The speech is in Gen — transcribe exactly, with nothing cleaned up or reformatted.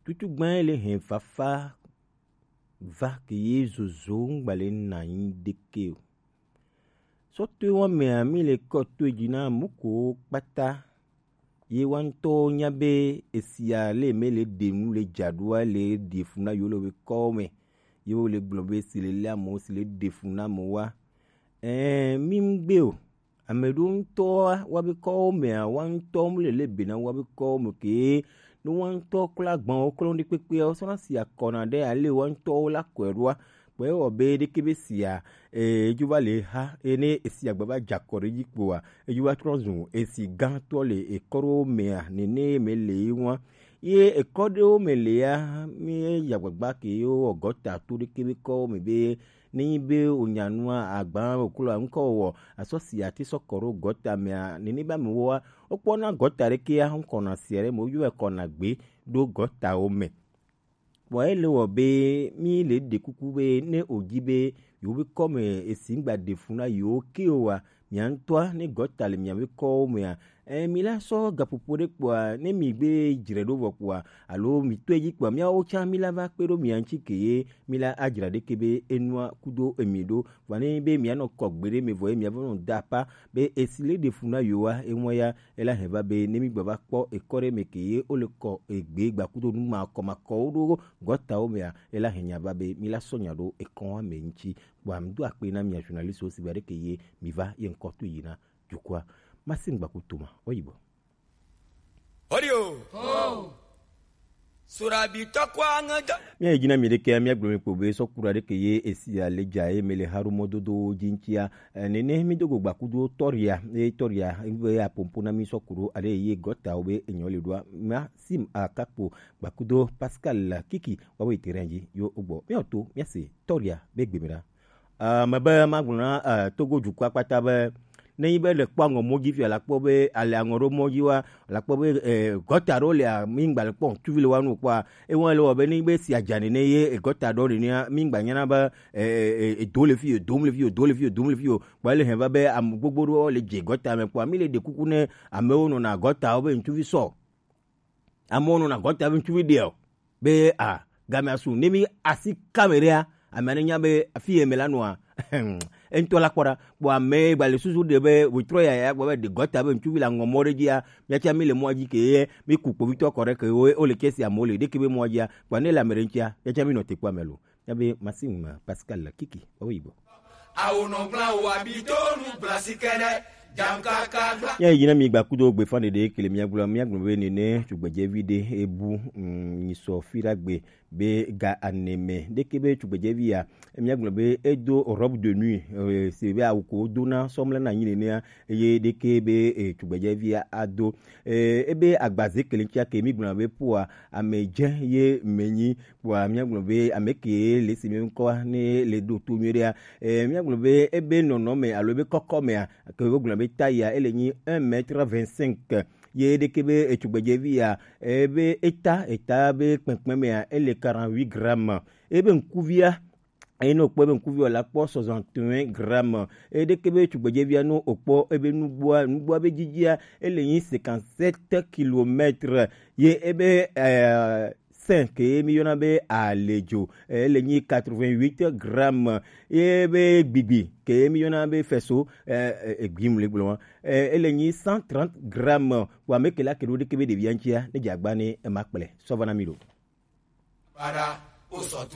Tutu gbã ele hɛn fafa va ke ye zozo ŋgba le na nyi ɖeke o. Sɔ to wa mea mi le kɔ to dzi na mɔ ko kpata. Ye wa ŋutɔ nya be esia le me le ɖe nu le dza ɖoa le ɖe fu na yo le be kɔ me. Ye wo le gblɔ be si le le amewo si le ɖe fu na amewo wa. Ɛɛ, mi ŋgbe o. Ame ɖewo ŋutɔ wa be kɔwo mea, wa ŋutɔ mu le le be na wa be kɔwo me ke ne wa ŋutɔ klo agban wo klo ɖe kpekpea, wo sɔna si akɔna ɖe ale wa ŋutɔ wo la kɔe ɖoa. Kpɔe wɔ be ɖeke be sia, eh, edzo va le ha, eye ne esia gba va dze akɔ ɖe dzi kpoa, edzo va trɔ zu esi gãtɔ le ekɔ ɖewo mea, nene me le ye ŋua. Ye ekɔ ɖewo me le ya, mi ya gbagba ke ye wɔ gɔta to ɖeke be kɔwo me be, ne nyi be wonya nua agba woklo ŋkɔ wɔ, asɔ si ati sɔ kɔ ɖo gɔta mea, nene be amewoa, wokpɔna gɔta ɖekea ŋkɔna sia ɖe me, woyɔe kɔna gbe ɖo gɔtawo me. Vɔ ele wɔ be mi le ɖe kuku be ne wòdzi be yewo be kɔ me esi ŋgba ɖe fu na yewo ke o wa, mia ŋutɔa ne gɔta le mia be kɔwo mea, ɛ, mi la sɔ gaƒoƒo ɖe kpɔa, ne mi gbe dzre ɖo vɔ kpɔa, alo mi tɔe dzi kpɔa, miawo tsã mi la va kpe ɖo mia ŋuti ke ye mi la adzra ɖeke be enua kudo emi ɖo. Vɔ ne be mia nɔ kɔ gbe ɖe me vɔ ye mia va nɔ da apa be esi le ɖe fu na yewoa, eŋua ya ela hɛn va be ne mi gba va kpɔ ekɔ ɖe me ke ye wo le kɔ egbe gba kudo nu ma kɔ ma kɔ wo ɖo gɔtawo mea, ela hɛn nya va be mi la sɔ nya ɖo ekɔwa me ŋuti. Kpɔa mi do akpe na mia journaliste wo si gba ɖe ke ye mi va ye ŋkɔ to yi na dukɔa. Masi ŋgba ku to ma, oyi bɔ. Odio. Oh. Surabi tɔkwa ŋa da. Mia yi dzi na mi ɖekea, mia gblɔ mi kpo be sɔ kura ɖeke ye esi ale dza ye me le haɖo mɔdodo dzi ŋutia. Eh, nene mi do go gba kudo tɔria, ye tɔria, be apompo na mi sɔ kuro ale ye gɔtawo be enyɔ le ɖoa. Ma sim akakpo gba kudo Pascal Kiki, wa wo yi terrain dzi, yo ogbɔ. Mia to, mia se tɔria be gbe mi ɖa. Eh, mebe magblɔ na, eh, Togo dukɔa kpata be, ne nyi be le kpɔ aŋɔ mɔ dzi fia, la kpɔ be ale aŋɔ ɖo mɔ dzi wa, la kpɔ be, eh, gɔta ɖo le, mi ŋgba le kpɔ ŋutsuvi le wa nu kpɔa, ewa le wɔ be ne nyi be si adzane ne ye, eh, gɔta ɖo le nea, mi ŋgba nyana be, eh, eh, eh, edo le fi, edo le fi, edo le fi, edo le fi o. Kpɔ ele hɛn va be ame gbogbo ɖo le dze gɔta me kpɔa, mi le ɖe kuku ne amewo nɔna gɔta wo be ŋutsuvi sɔ. Amewo nɔna gɔta be ŋutsuvi ɖe o. Be a, game asu, ne mi asi kame ɖea, ame ne nya be afi ye me la nɔa. Eŋutɔ la kpɔ ɖa. Kpɔ ame gba le susu ɖe be wòtrɔ yaya gba be ɖe gɔta be ŋutsuvi la ŋɔ mɔ ɖe dzia, miatia mi le mɔa dzi ke ye, mi ku kpovitɔ kɔ ɖe ke wo, wo le kesi amewo le ɖeke be mɔa dzia, kpɔ ne le ame ɖe ŋutia, miatia mi nɔ te kpɔ ame lo. Nyabe Maxime Pascal Kiki, wawo yibɔ. Awo nɔ gblã wo abi to nu gblã si kɛɖɛ, jam kaka gblã. Ya yi na mi gba kudo gbe fan ɖeɖe kele mia gblɔ, mia gblɔ be nene tugbedzevi ɖe ebu, mm, nyi sɔ fi ɖa gbe be ga aneme. Ɖeke be tugbedzevi ya, mia gblɔ be edo robe de nuit, eh, se be awu ko dona sɔmla na nyi nenea, eye ɖeke be, eh, tugbedzevia ado. Eh, ebe agbaze kele ŋutia ke mi gblɔna be poa, ame dze ye menyi, poa mia gblɔ be ame ke le si mi ŋkɔ ne le ɖo to nyuie ɖea. Eh, mia gblɔ be ebe nɔnɔme alo ebe kɔkɔmea, ke wo gblɔna be taille ele nyi un mètre vingt-cinq. Ye ɖeke be etugbedzevi ya, ebe eta, eta be kpekpemea, ele quarante-huit grammes. Ebe ŋkuvia, eye ne wòkpɔ ebe ŋkuvi wòle akpɔ soixante et un grammes. Eye ɖeke be tugbedzevia, ne wòkpɔ ebe nugbua, nugbua be dzidzia, ele nyi cinquante-sept kilomètres. Ye ebe, eh, sein ke ye mi yɔna be aledzo, eh, ele nyi quatre-vingt-huit grammes. Ye ebe gbigbi ke ye mi yɔna be feso, eh, eh, eh, gbim le gblɔ, eh, ele nyi cent trente grammes. Wa me ke la ke ɖo ɖeke be ɖevia ŋutia, ne dze agba ne ema kplɛ. Sɔ va na mi ɖo. Para, o sɔ tu.